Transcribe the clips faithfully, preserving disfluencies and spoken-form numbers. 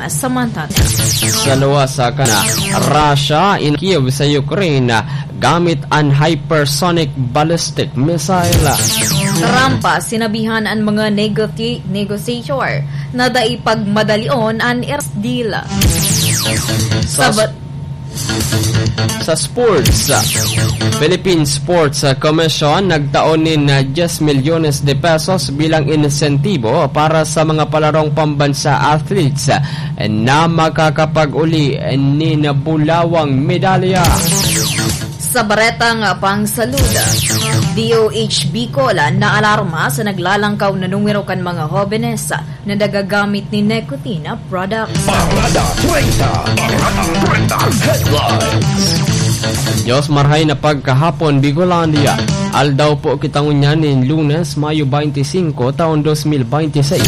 Samantala, sa luwas sa kana, Russia in Kiev sa Ukraine gamit an hypersonic ballistic missile. Trump, sinabihan an mga negoti-, negotiator na dai pagmadalion an Iran deal. Sa Sabat- Sa sports, Philippine Sports Commission nagtao nin, ah, diyes milyones de pesos bilang insentibo para sa mga palarong pambansa athletes na makakapag-uli nin bulawang medalya. Sa baretang pangsalud, D O H Bicol naalarma sa naglalangkaw na numero kan mga hobenes na nagagamit nin nicotine products. Parada treinta. Parada treinta. Headlines. Diyos marhay na pagkahapon, Bicolandia. Aldaw po kita ngunyan nin Lunes, Mayo twenty-five, taon twenty twenty-six.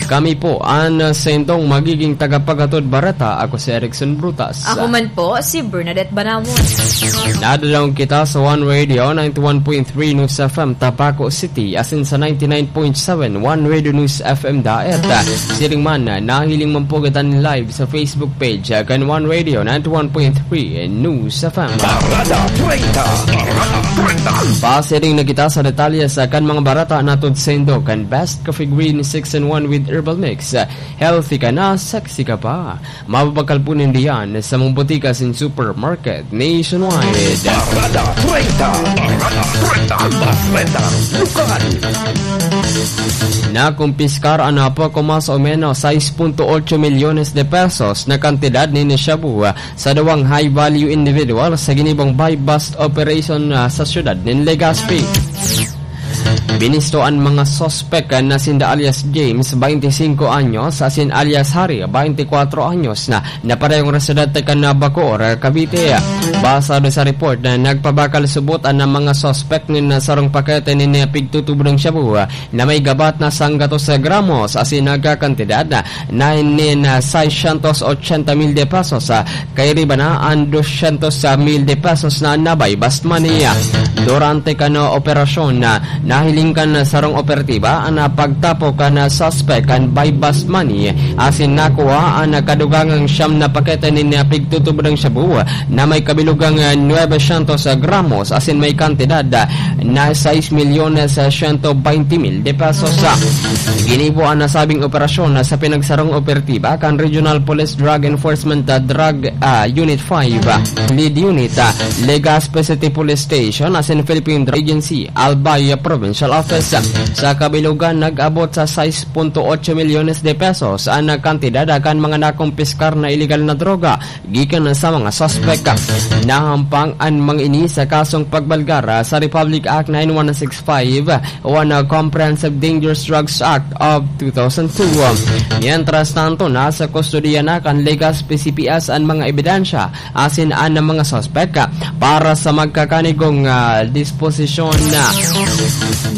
Kami po an sentong magiging tagapaghatod bareta. Ako si Erickson Brutas. Ako man po, si Bernadette Banawon. Nadadangog kita sa One Radio ninety-one point three News F M Tabaco City, asin sa ninety-nine point seven One Radio News F M Daet. Siring man, nahiling man po kita nin live sa Facebook page, ah, kan One Radio ninety-one point three News F M. Parada treinta. Parada treinta. Pasiring na kita sa detalye sa kan mga bareta na tudsindo kan Best Coffee Green six in one with Herbal Mix. Healthy ka na, sexy ka pa. Mababakal po ninda yan sa mga botika sin supermarket nationwide. Parada treinta. Parada treinta. Bareta lokal. Nakumpiskar an poko mas o menos sais punto otso milyones de pesos na kantidad nin shabu sa duwang high-value individual sa ginibong buy-bust operation, ah, sa siyudad nin Legazpi. Binisto an mga suspek na sinda alias James, twenty-cinco anyos, asin alias Harry, twenty-cuatro anyos, na, na parehong residente kan Bacoor, Cavite. Basado sa report na nagpabakal subot an mga suspek nin sarong pakete nin pigtutubod nin shabu na may gabat na sanggatos gramos asin nagkakantidad na nin, ah, seiscientos ochenta mil de pesos, ah, kairiba na an doscientos mil de pesos na buy-bust money. Durante kan operasyon, nahiling kan sarong operatiba an pagtapo kan suspek kan buy-bust money asin nakuha an kadugangang siyam na pakete nin pigtutubod nin shabu na may kabilugang nuebe syentos gramos asin may kantidad na sais milyones siyento baynte mil de pesos. Ginibo an nasabing operasyon sa pinagsarong operatiba kan Regional Police Drug Enforcement, ah, Drug, ah, Unit five, ah, Lead Unit, ah, Legazpi City Police Station, asin Philippine Drug Agency, Albay Provincial Office. Sa kabilugan, nag-abot sa sais punto otso milyones de pesos an kantidad kan mga nakumpiskar na iligal na droga gikan sa mga suspek. Nahampang an mga ini sa kasong pagbalgar sa Republic Act nine one six five o an Comprehensive Dangerous Drugs Act of two thousand two. Mientras tanto, nasa kustodiya na kan Legazpi C P S an mga ebidensya asin an mga suspek para sa magkakanigong, ah, disposisyon.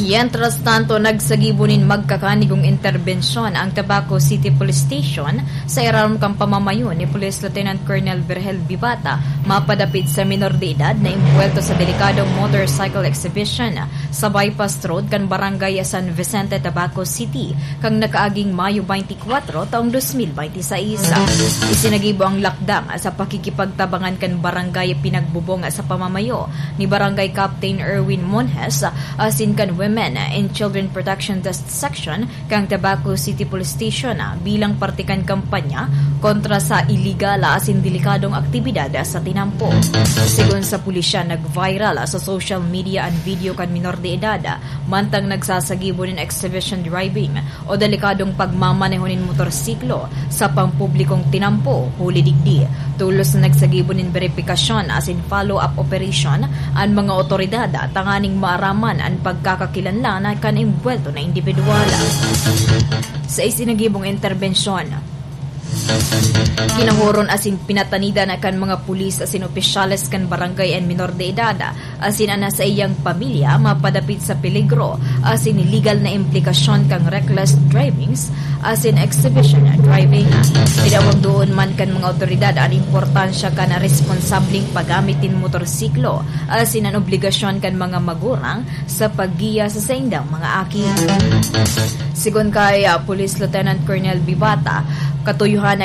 Mientras tanto, nagsagibo nin magkakanigong interbensyon ang Tabaco City Police Station sa irarom kan pamamayo ni Police Lieutenant Colonel Virgel Bibata, mapadapit sa minor de edad na imbuwelto sa delikadong motorcycle exhibition sa bypass road kan Barangay San Vicente, Tabaco City, kan nakaaging Mayo twenty-four, taong dos mil baynte sais. Isinagibo ang lakdang sa pakikipagtabangan kan barangay pinagbubong sa pamamayo ni Barangay Captain Erwin Monjes asin kan Women and Children Protection Desk Section kan Tabaco City Police Station, ah, bilang parte kan kampanya kontra sa iligal asin delikadong aktibidad sa tinampo. Segun sa pulisya, nag-viral sa social media an video kan minor de edad, ah, mantang nagsasagibo nin exhibition driving o delikadong pagmamaneho nin motorsiklo sa pampublikong tinampo. Huli digdi, tolos na nagsagibo nin beripikasyon asin follow-up operation an mga otoridad tanganing maaraman an pagkakakilanlan kan imbuwelto na indibidwal. Sa isinagibong interbensyon, kinahoron asin pinatanidan kan mga pulis asin opisyales kan barangay an minor de edad asin an saiyang pamilya mapadapit sa peligro asin iligal na implikasyon kan reckless drivings asin exhibition driving. Pinawagdoon man kan mga otoridad an importansya kan responsableng paggamit nin motorsiklo asin an obligasyon kan mga magurang sa paggiya sa saindang mga aki. Segun kay, ah, Police Lieutenant Colonel Bibata, katuyohan na